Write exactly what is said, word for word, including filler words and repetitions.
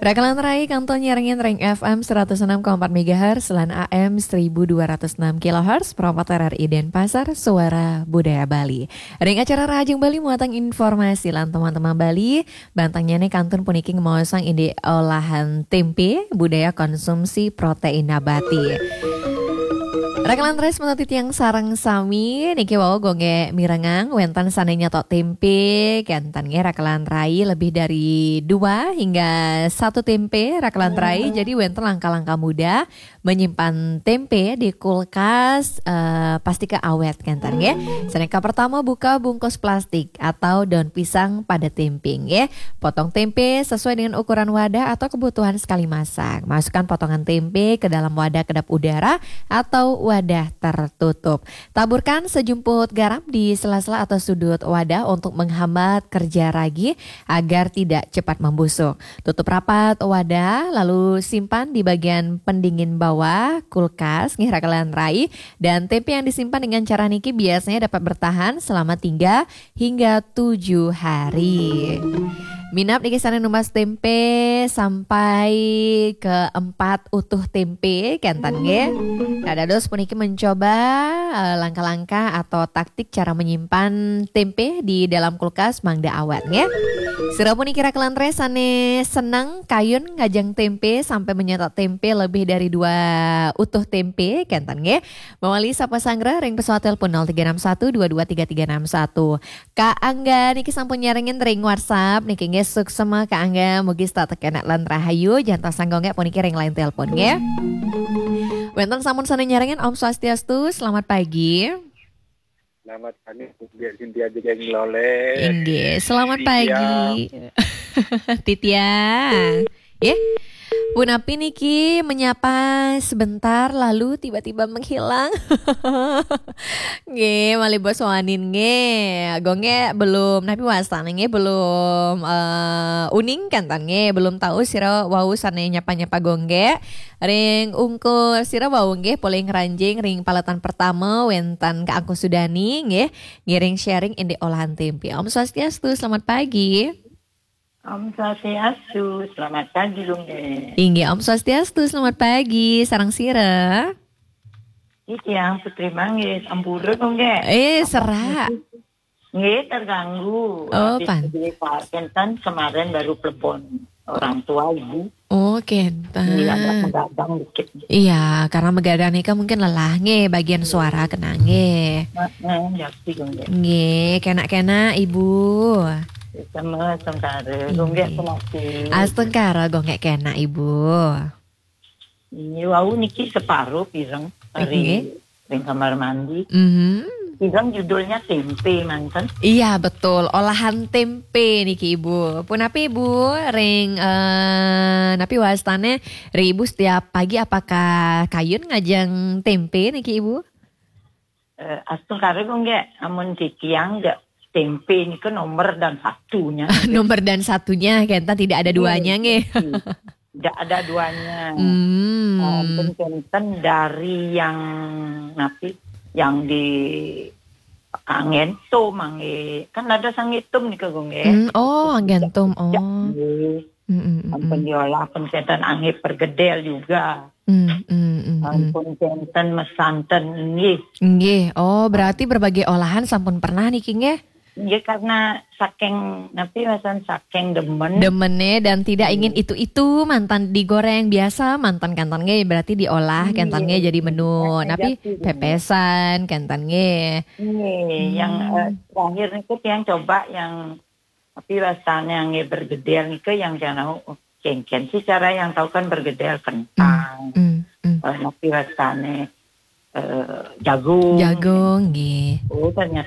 Raka lan rai kantun nyarengin ring F M seratus enam koma empat megahertz lan A M seribu dua ratus enam kilohertz, Pro empat R R I Denpasar, Suara Budaya Bali. Ring acara Rahajeng Bali muatan informasi lan teman-teman Bali, bantangnya nih kantun puniki ngemaosang indik olahan tempe, budaya konsumsi protein nabati. Raka lan rai semeton titiang sareng sami, niki wau Gung Gek mirengang, wenten sane nyetok tempe, kenten nggih Raka lan rai lebih dari dua hingga satu tempe Raka lan rai. Jadi wenten langkah-langkah mudah menyimpan tempe di kulkas, eh, pasti ke awet kenten nggih. Sane ka pertama buka bungkus plastik atau daun pisang pada tempe nggih. Potong tempe sesuai dengan ukuran wadah atau kebutuhan sekali masak. Masukkan potongan tempe ke dalam wadah kedap udara atau wadah tertutup. Taburkan sejumput garam di sela-sela atau sudut wadah untuk menghambat kerja ragi agar tidak cepat membusuk. Tutup rapat wadah, lalu simpan di bagian pendingin bawah kulkas nggih Raka lan rai. Dan tempe yang disimpan dengan cara niki biasanya dapat bertahan selama tiga hingga tujuh hari. Minab niki sane numbas tempe sampai ke empat utuh tempe kenten nggih. Dados puniki mencoba, eh, langkah-langkah atau taktik cara menyimpan tempe di dalam kulkas mangda awet nggih. Sira puniki Raka lan rai sane seneng kayun ngajeng tempe sampai menyetok tempe lebih dari dua utuh tempe kenten nggih. Mawali sapa sanggra ring pesawat telepon nol tiga enam satu dua dua tiga tiga enam satu. Kak Angga niki sampun nyarengin ring WhatsApp niki nggih, suksma Kak Angga, mugi tetep kenak lan rahayu, jantos sanggonge puniki ring line telepon nggih. Wenten sampun sane nyarengin, Om Swastiastu, selamat pagi. Selamat pagi, Biar Cynthia Jegeng Lole. Inggih, selamat pagi. Titiang. Nggih. Punapi niki menyapa sebentar lalu tiba-tiba menghilang. Nggih, malih bos wanin nggih. Gung Gek belum, napi wastane nggih belum, eh, uning kenten nggih, belum tahu sira wau sane nyapa-nyapa Gung Gek. Ring ungkur sira wau nggih polih ngranjing ring paletan pertama wenten Kak Angku Sudani nggih, ngiring sharing indik olahan tempe. Om Swastiastu, selamat pagi. Om Swastiastu, selamat pagi, Gung Gek. Inggih, Om Swastiastu, selamat pagi. Sareng sira? Titiang Putri Manggis, ampura, Gung Gek. Eh, serak. Nggih, terganggu. Oh, habis pan. Beli pa-, kenten kemarin baru plebon orang tua ibu. Oh, kenten. Iya, agak menggadang dikit. Iya, karena menggadang nika mungkin lelah nggih, bagian suara kena nggih. Heeh, ya, sih, Gung Gek. Nggih, kenak-kenak Ibu. Sama, astungkara, Gung Gek. Inggih. Penasi. Astungkara, Gung Gek, kenak Ibu. Ini wau niki separuh pireng dari Inggih. Ring kamar mandi. Mhm. Pireng judulnya tempe manten. Iya, betul. Olahan tempe niki Ibu. Punapi Ibu ring, eh, napi wastane ring Ibu setiap pagi apakah kayun ngajeng tempe niki Ibu? Eh, astungkara, Gung Gek, amun titiang nggak, tempe nika nomor dan satunya. Nomor dan satunya, kenten tidak ada duanya nggih. Tidak ada duanya. Hmm. Ampun kenten dari yang napi, yang di angento mangke. Kan ada sangitum nika, Gung Gek. Hmm, oh, angento. Oh. Nggih. Mm, mm, mm, ampun mm. Diolah, ampun kenten angge pergedel juga. Mm, mm, mm, mm. Ampun kenten mesanten nggih. Nggih. Oh, berarti berbagai olahan sampun pernah niki nggih? Nggih, karena saking, napi, masan saking demen. Demene dan tidak ingin itu-itu manten digoreng biasa, manten kenten nggih, berarti diolah kenten nggih jadi menu. Nggih, napi, pepesan kenten nggih. Nggih, yang, eh, terakhir niku tiang coba yang Tapi rasanya nggih bergedel nika yang jangan tahu, oh, kengken sih cara yang tahu kan bergedel kentang. Hmm, hmm, hmm. Eh, tapi rasanya, eh, jagung. Jagung, nggih. Oh, ternyata